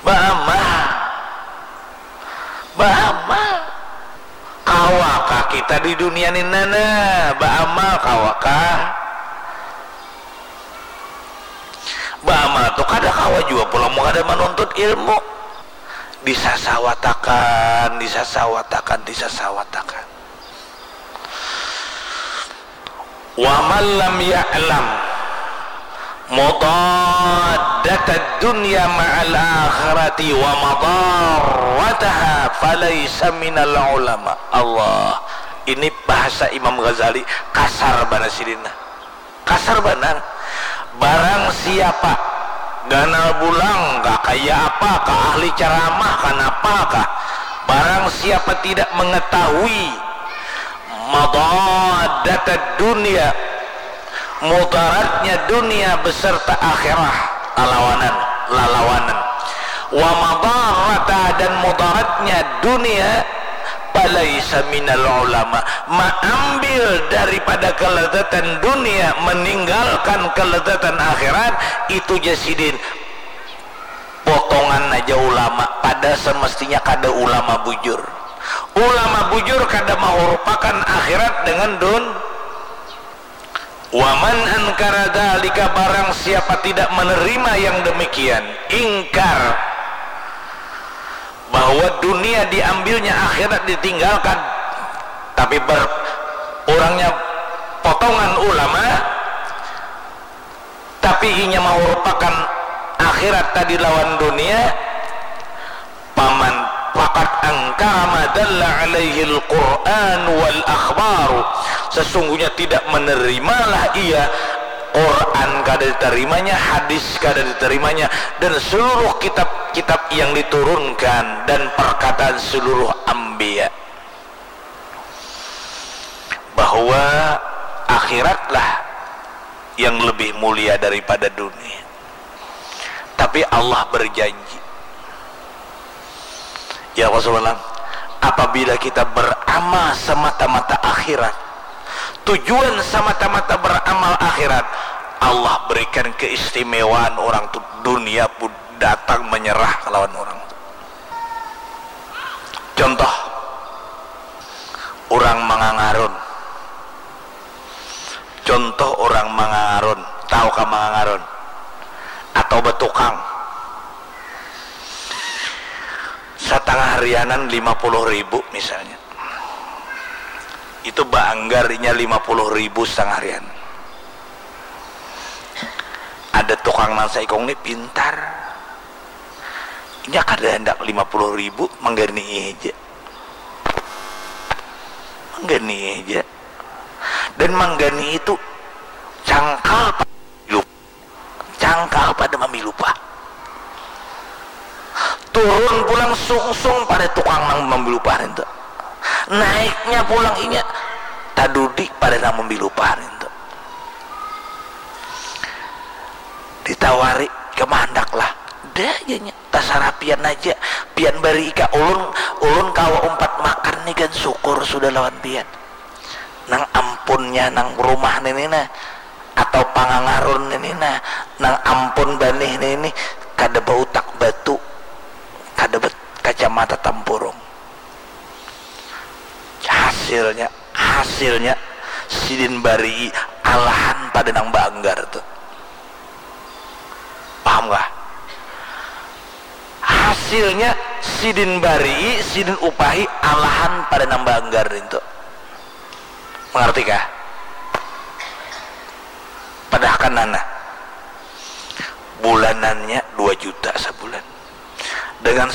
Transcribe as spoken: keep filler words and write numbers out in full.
Baamal. Baamal. Kawakah kita di dunia ni nana baamal, kawakah? Baamal tu kada kawa jua pulang mun kada manuntut ilmu. Disasawatakan, disasawatakan, disasawatakan. Wa man lam ya'lam mudaddatad dunya ma'al akhirati wa madarrataha falaisa minal ulama. Allah, ini bahasa Imam Ghazali, kasar banar sidin. Kasar banar. Barang siapa, ganal bulang kah, kaya apa kah, ahli ceramah kanapa kah, barang siapa tidak mengetahui madadatad dunia, mudaratnya dunia beserta akhirah, lalawanan, lalawanan. Wa madarata, dan mudaratnya dunia, falaisa minal ulama, maambil daripada kelezatan dunia, meninggalkan kelezatan akhirat, itu ja sidin potongan aja ulama, pada semestinya kada ulama bujur. Ulama bujur kada mahurupakan akhirat dengan dun. Wa man ankara dzalika, barang siapa tidak menerima yang demikian, ingkar bahwa dunia diambilnya, akhirat ditinggalkan, tapi ber, urangnya potongan ulama, tapi inya mahurupakan akhirat tadi lawan dunia, paman, faqad angkara ma dalla alaihil Qur'an wal akhbaru, sesungguhnya tidak menerimalah ia Quran kada ditarimanya, hadis kada ditarimanya, dan seluruh kitab-kitab yang diturunkan dan perkataan seluruh anbiya, bahwa akhiratlah yang lebih mulia daripada dunia. Tapi Allah berjanji, ya Rasulullah, apabila kita beramal semata-mata akhirat, tujuan semata-mata beramal akhirat, Allah berikan keistimewaan, orang tu dunia pun datang menyerah kelawan orang tu. Contoh, orang mangangarun. Contoh, orang mangangarun. Tahu kah mangangarun? Atau betukang. Satangah harianan lima puluh ribu misalnya. Itu baanggar inya lima puluh ribu satangah harian. Ada tukang nang saikung ni pintar. Inya kada handak lima puluh ribu, mangganii haja. Mangganii haja. Dan mangganii itu cangkal pa-, cangkal pada mambilu upah. Turun pulang sungsung pada tukang nang mambilu upah nintu. Naiknya pulang inya tadudi pada nang mambilu upah nintu. Ditawari, "Ikam handaklah?" "Da," janya. "Tasarah pian aja. Pian barii ka ulun, ulun kawa umpat makan ni kan, syukur sudah lawan pian." Nang ampunnya nang rumah nini nah, atau pangangarun nini nah, nang ampun banih nini, kada bautak batu, kada bet-, kacamata tampurung. Hasilnya, hasilnya sidin barii alahan pada nang baanggar tu. Paham kah? Hasilnya sidin barii, sidin upahi alahan pada nang baanggar nintu. Mangarti kah? Padahkan nana, bulanannya dua juta sabulan. Dengan